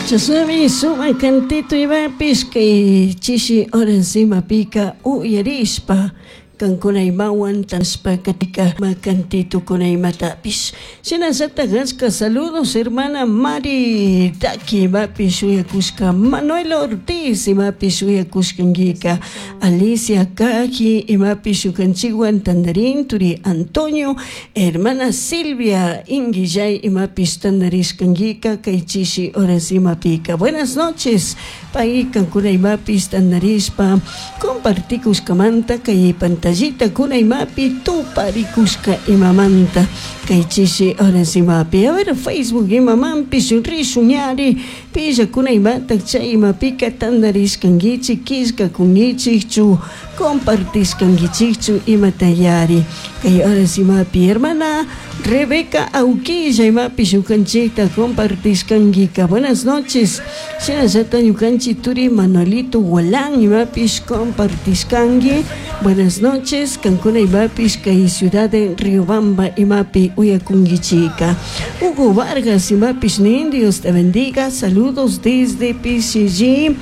Chashnami sumak cantito imapish kay chishi horas imapika uyarishpa kankuna imawan tashpa katika cantitokuna imatapish. Shinallatak ashka saludos hermana Mari Taki imapish shuyakushka, Manuel Ortiz imapish shuyakushkankika, Alicia Kaji imapish shukanchikwan tandarin, turi Antonio, hermana Silvia Inguillay imapish tandarishkankika kay chishi horas imapika. Buenas noches, pay kankuna imapish tandarishpa compartikushkamanta kay pantallita kuna imapi tuparikushka imamanta kay chishi horas imapi. A ver, Facebook imamanpish rishun ñari pillakuna imatak chay imapika tandarishkankichik, killkakunkichikchu, compartishkankichikchu imatayari kay horas imapi. Hermana Rebeca Auquilla imapish ñukanchikta compartishkankika. Buenas noches. Shinallata ñukanchik turi Manuelito Gualán imapish compartishkanki. Buenas noches. Kankuna imapish kay ciudad de Riobamba imapi uyakunkichika. Hugo Vargas imapish nin, Dios te bendiga. Saludos desde PCG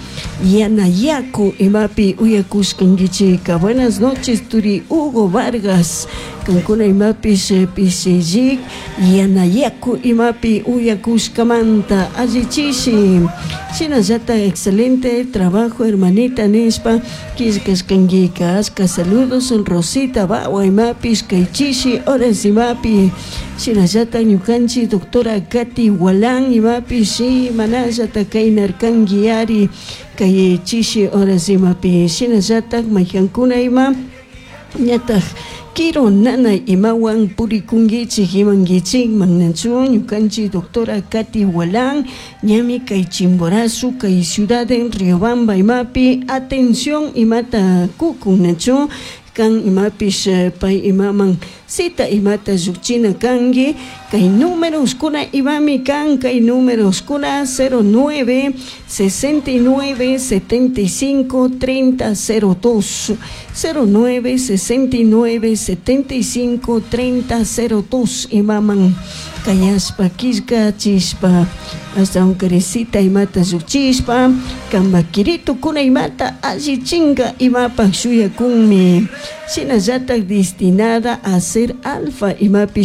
Yanayaku imapi uyakushkankichika. Buenas noches turi Hugo Vargas. Kankuna imapish PCG Yanayaku imapi uyakushkamanta allichishi. Shinallata excelente trabajo hermanita nishpa killkashkankika. Ashka saludos Rosita Bawa imapish kay chishi horas imapi. Shinallata ñukanchik doctora Katy Walán imapish manallata kaynarkanki ari kay chishi horas imapi. Shinallatak maykankuna ima ñataj kiru nanay imawan purikunkichik imankichikman nachu ñukanchik doctora Katy Walán ñami kay Chimborazo kay ciudad en Riobamba imapi atención imata kukun nachu kan imapish pay imaman cita imata llukchina kanki kay números kuna imami kan kay números kuna 09 69 75 30 02, 09 69 75 30 02 imaman kayashpa killkachishpa hasta cita imata llukchishpa kanpak kirito kuna imata allichinka imapak shuyakunmi. Shinallatak destinada a ser alfa imapish.